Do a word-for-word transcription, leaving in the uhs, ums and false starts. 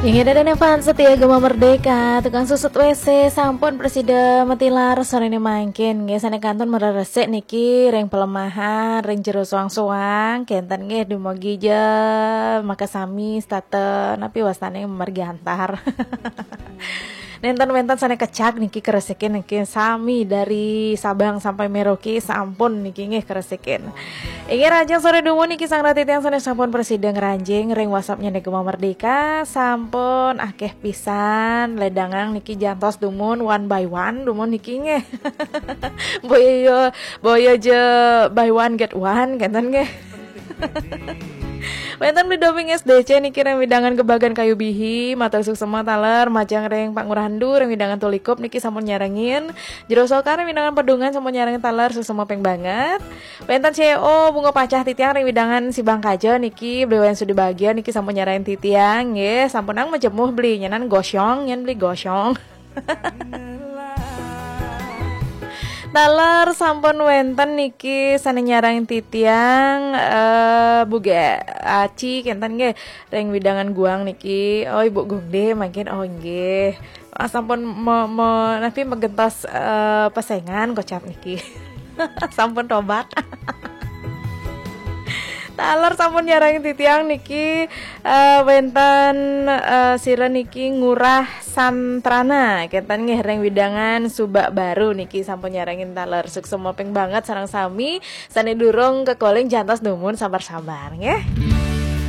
Inggih, dadah fans setia Gema Merdeka, tukang susut W C sampun prasida matilar sorene mangkin. Nggih, sane kantun mareresik niki ring pelemahan, ring jero soang-soang, kenten nggih, dumugi ja makasami setata napi wastane mergi antar. Nenten wenten sane kecak niki keresikin niki sami dari Sabang sampai Merauke sampun niki nggih keresikin. Inggih, rahajeng sore dumun niki sareng titiang sane sampun prasida ngranjing ring WhatsApp-ne Gema Merdeka, sampun akeh pisan ledangang niki jantos dumun one by one dumun niki nggih. Boya ya, boya ja buy one get one kenten nggih. Wenten Bli Doping S D C niki ring wewidangan Gebagan Kayu Bihi, matur suksma taler majeng ring Pak Ngurah Endu ring wewidangan Tulikup niki sampun nyarengin. Jero Sokan ring wewidangan Pedungan sampun nyarengin taler suksma ping banget. Wenten C E O Bunga Pacah titiang ring wewidangan Sibang Kaja niki, Bli Wayan Sudi Bagia niki sampun nyarengin titiang nggih, sampunang majemuh Bli nyanan gosyong, nyen Bli gosyong. Taler sampun wenten niki sane nyarengin titiang, eh, Bu Ge Aci kenten nggih ring wewidangan Guang niki. Oh, Ibu Gungde mangkin, oh nggih. Ah, sampun me, me, napi megentos, eh, pesengan kocap niki. Sampun tobat. Taler sampun nyarengin titiang niki, eh, wenten, eh, sira niki Ngurah Santrana kenten nggih ring wewidangan Subak Baru niki sampun nyarengin taler. Suksma ping banget sareng sami sane durung kekoling jantos dumun sabar-sabar nggih.